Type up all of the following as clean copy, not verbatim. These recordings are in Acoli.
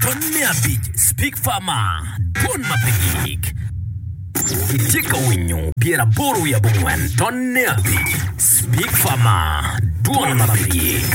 Pwony me abic, Speak Farmer, Dwon ma pe gik. Itye ka winyo 84 tonne abic, Speak Farmer, Dwon ma pe gik.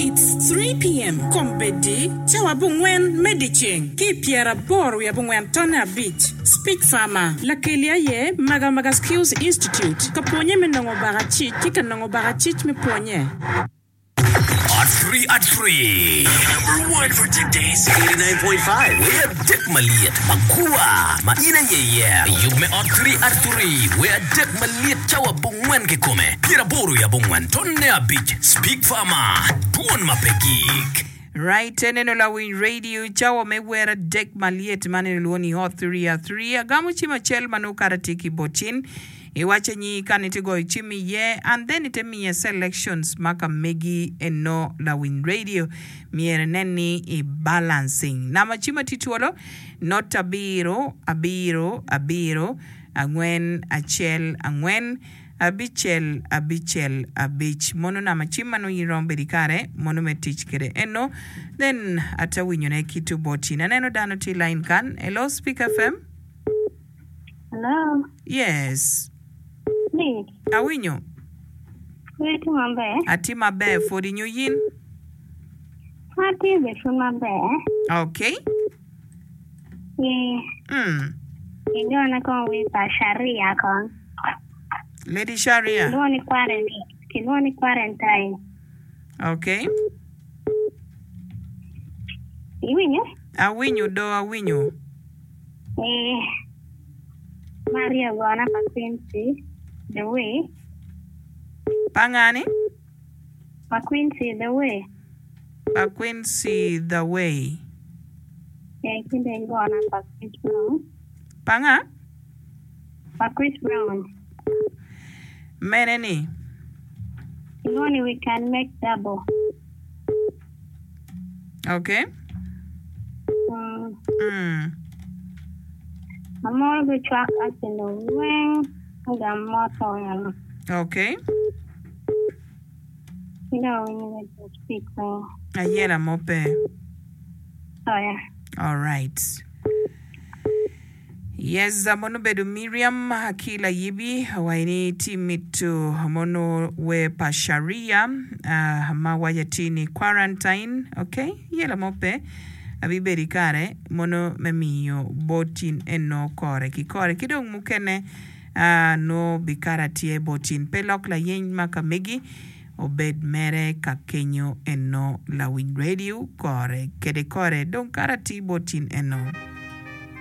It's 3 PM, Kombeddi, cawa abongwen me dyeceng ki i pyeraboro wiye abongwen tonne abic. Speak Farmer, Lakeli aye Magamaga Skills Institute ka pwonye me nongo bakacic ki ka nongo bakacic me pwonye. At three at three. Number one for today's 89.5. Wer adek malyet magwar ma in aye iyero. Yub me ot three at three. Wer adek malyet cawa abongwen kikome. Pyeraboro i abongwen tonne abic. Speak Farmer. Dwon ma pe gik. Right eneno lawiny radio cawa me wer adek malyet man en olwongo ni hot three at three agamo cim acel ma nongo kara tye ki bot cin iwaco nyi ka ni tye goyo cim iye and then ite miye selections ma ka megi eno lawiny radio myero inen ni i balancing nama cim atye twolo not abiro abiro abiro angwen acel angwen Abicel, abicel, abic. Mono nama cim ma nongo in iromo bedo i kare mono me tic kede eno. Then ata winyo ne ki tu bot in. Aneno dano tye i line kan. Hello Speak FM. Hello. Yes. Nick. Awinyo. Itye maber? Atye maber pwod inyo yin? Atye bene pwod maber. Okay. Ee. Mm. Igona kong wi pa Sharia kong. Lady Sharia. Kilwongo ni quarantine. Kilwongo ni quarantine. Okay. Iwinyo? Awinyo do awinyo. Ee. Maria ogona pa Quincy the way. Pa ngani? Pa Quincy the way. Pa Quincy the way. Ee, ki dong igona pa Chris Brown. Pa nga? Pa Chris Brown. Mene ni? Kilwongo ni we can make double. Okay. Mm. Mm. Amoro gicwak Arsenal weng ogam mot eno. Okay. Ki dong awinyo ni jo speak weng. Ayela mo pe. Oya. Alright. Yes, mono obedo Miriam ki Layibi owaco ni tye mito mono wer pa Sharia ah, ma waco atir ni quarantine. Okay, yela mo pe. Abibedo i kare mono me miyo bot in eno kore ki kore ki dong mukene ah, nongo bikara tye bot in. Pe lok layeny ma ka megi obed mere ka kenyo eno lawiny radio kore kede kore dong kara tye bot in eno.